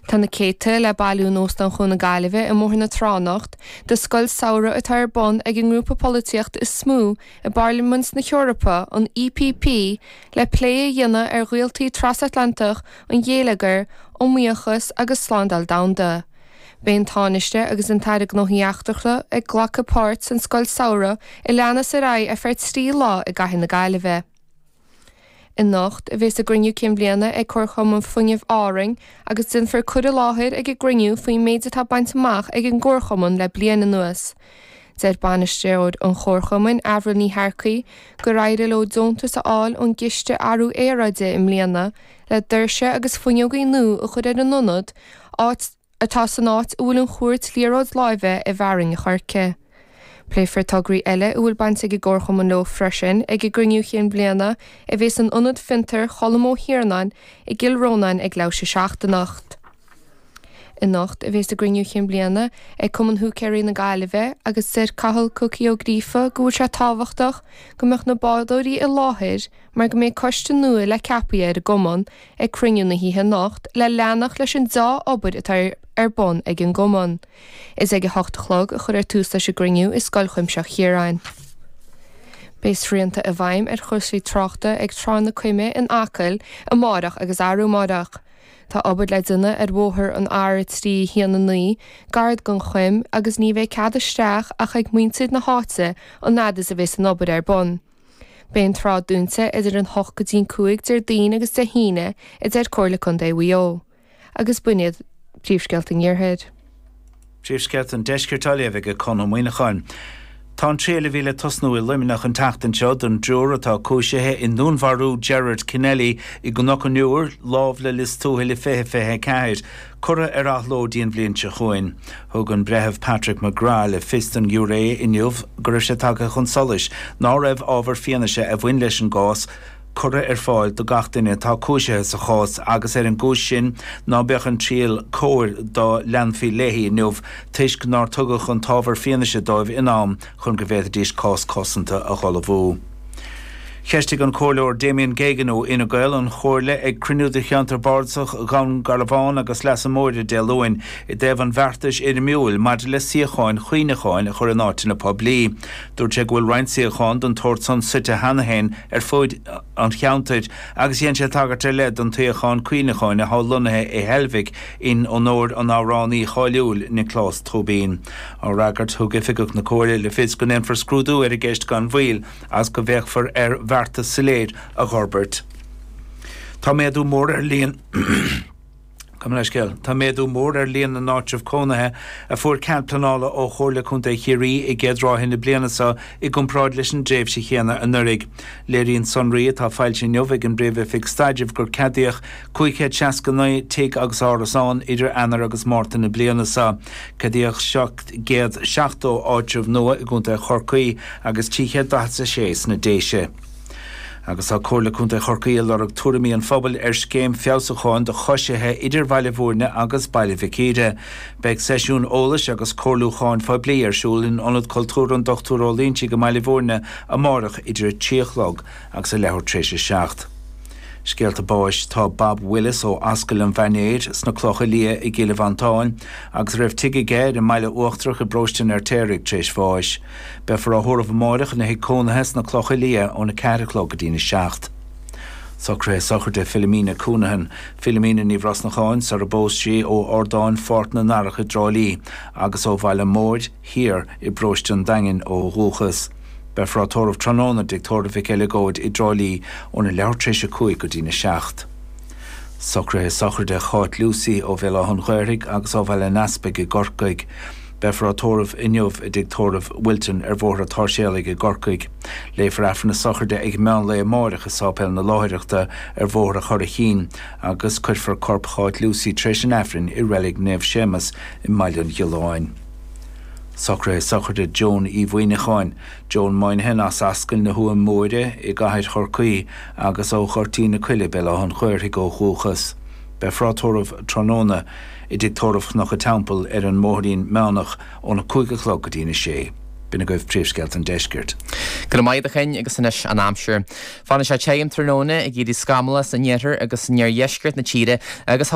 Tá na céadta le bailiú in Óstán Chuan na Gaillimhe i mBóthar na Trá anocht do scoil samhraidh atá ar bun ag an ngrúpa polaitíochta is mó i bParlaimint na hEorpa, an EPP, le plé a dhéanamh ar ghaoltaí trasatlantach an gheilleagair, iomaíochas agus slándáil domhanda. Beidh an Tánaiste agus an tAire Gnóthaí Eachtracha ag glacadh páirt san scoil samhraidh a leanas ar aghaidh ar feadh 3 lá i gcathair na Gaillimhe. Anocht a bhéas a gcruinniú cinn bhliana ag Comharchumann Fuinnimh Árainn agus déanfar cur i láthair ag an gcruinniú faoin méid atá bainte amach ag an gcomharchumann le bliain anuas. Deir bainisteoir an chomharchumainn, Avril Ní Shearcaigh, gur éirigh leo deontas a fháil ón gCiste Athrú Aeráide i mbliana le doirse agus fuinneogaí nua a chur ar an ionad, áit atá san áit a bhfuil an chúirt liathróid láimhe i bhFearann an Choirce. Pléifear tograí eile a bhfuil baint ag an gcomharchumann leo freisin ag a gcruinniú chinn bhliana a bheas in Ionad Fiontair Cholm Ó hIarnáin i gCill Rónáin ag leathuair tar éis a 7 anocht. Anocht a bheas a gcruinniú chinn bliana ag Cumann Húicéirí na Gaillimhe agus deir Cathal 'Cookie' Ó Gríofa go bhfuil sé tábhachtach go mbeadh na bádóirí i láthair mar go mbeidh coiste nua le ceapadh ar an gcumann ag cruinniú na hoíche anocht le leanacht leis an deá-obair atá ar bun ag an gcumann. Is ag a hocht a chlog a chuirfear tús leis an gcruinniú i Scoil Chuimsitheach Chiaráin. Beidh srianta i bhfeidhm ar chúrsaí tráchta ag Trá na Coime in Acaill amárach agus arú amárach. Tá obair le déanamh ar bhóthar an R319 gar don Choim agus ní bheidh cead isteach ach ag muintir na háite an fhad is a bheas an obair ar bun. Beidh an trá dúnta idir an 8 go dtí an 5 Déardaoin agus Dé hAoine, a deir Comhairle Contae Mhaigh Eo. Agus b'in iad príomhscéalta an Iarthair. Príomhscéalta an Deiscirt á léamh ag Conn Ó Muíneacháin. Tá an triail a bhí le tosnú i Luimneach an tseachtain seo don dtriúr atá cúisithe i ndúnmharú Gerard Kennelly i gCnoc an Iúir, lámh le Lios Tuathail i 2024, curtha ar athló dtí an bhliain seo chugainn. Thug an Breitheamh Patrick McGrath le fios don ghiúiré inniu go raibh sé tagtha chun solais ná raibh ábhar fianaise a bhain leis an gcás curtha ar fáil do gach duine atá cúisithe sa chás agus ar an gcúis sin ná beadh an triail cóir dá leanfaí léi inniu toisc nár tugadh an t-ábhar fianaise dóibh in am chun go bhféadfaidís cás cosanta a dh'ullmhú. Cheistigh an Comhairleoir Damien Geoghegan ó Fhine Gael an Chomhairle ag cruinniú de Cheantar Bardasach Dhún Garbhán agus Leasa Móire Dé Luain i dtaobh an bheartais fhoirmiúil maidir le suíocháin chuimhneacháin a chur in áiteanna poiblí. Dúirt sé go bhfuil roinnt suíochán den tsórt san suite cheana féin ar fuaid an cheantair agus dhein sé tagairt ar leith don tsuíochán cuimhneacháin athá lonnaithe i Heilbhic in onóir an amhránaí cháiliúil Nioclás Tóibín. Á fhreagairt, thug oifigeach na Comhairle le fios go ndéanfar scrúdú ar an gceist gan mhoill agus go bhféachfar ar bheartas soiléir a dh'fhorbairt. Tá méadú mór ar líon. Gabh mo leithscéal. Tá méadú mór ar líon na n-áitreabh cónaithe a fuair cead pleanála ó Chomhairle Contae Chiarraí i gcéad ráithe na bliana seo i gcomparáid leis an dtréimhse chéanna anuraidh. Léiríonn sonraí atá foilsithe inniu ag an bPríomh-Oifig Staidrimh gur ceadaíodh 569 tigh agus árasán idir Eanáir agus Márta na bliana seo. Ceadaíodh 770 áitreabh nua i gContae Chorcaí agus 346 sna Déise. Agus tá Comhairle Contae Chorcaí ag lorg tuairimí an phobail ar scéim feabhsúcháin do choisithe idir Bhaile Bhúirne agus Baile Mhic Íre. Beidh seisiún eolais agus comhairliúcháin phoiblí ar siúl in Ionad Cultúrtha an Dr Ó Loingsigh i mBaile Bhúirne amárach idir a 3 a chlog agus a leathuair tar éis a 7. Scéalta báis Tá Bob Willis ó Ascaill an Mhainéir sna Clocha Liath i gCill Mhantáin agus a raibh tigh aige ar an mBaile Uachtarach i bparóiste an Fheirtéaraigh tar éis bháis. Beifear á thórramh amáireach ina thigh cónaithe sna Clocha Liath óna 4 a chlog go dtína 7. Socruithe sochraide Philomena Counihan, Philomena Ní Bhrosnacháin, sar a bpós sí ó Ardáin Pháirc na nDarach i dTrá Lí agus ó Bhaile Móir Thiar i bparóiste an Daingin ó dhúchas. Beifear á tórramh tráthnóna i dTigh Tórraimh Mhic Eileagóid i dTrá Lí óna leathuair tar éis a 5 go dtína 7. Socruithe sochraide Cháit Lucey ó Bhéal Átha an Ghaorthaidh agus ó Bhaile an Easpaig i gCorcaigh. Beifear á tórramh inniu i dTigh Tórraimh Wilton ar Bhóthar an tSáirséalaigh i gCorcaigh. Léifear Aifreann na sochraide ag meán lae amáireach i Sáipéal na Láithreachta ar Bhóthar an Churraichín agus cuirfear corp Cháit Lucey tar éis an Aifrinn i Reilig Naomh Séamas i mBaile an Ghiolláin. Socruithe sochraide Joan Uí Mhuineacháin, Joan Moynihan as Ascaill na hTuaim Móire i gCathair Chorcaí agus ó Ghoirtín na Coille, Béal Átha an Ghaorthaidh ó dhúchas. Beifear á tórramh tráthnóna i dTigh Tórraimh Chnoc an Teampaill ar an mBóithrín Meánach óna 5 a chlog go dtína 6. B'in agaibh príomhscéalta an deiscirt. Go raibh maith agat a Chinn agus anois an aimsir. Fanfaidh sé tirim tráthnóna ag éirí scamallach san iarthar agus in iardheisceart na tíre agus.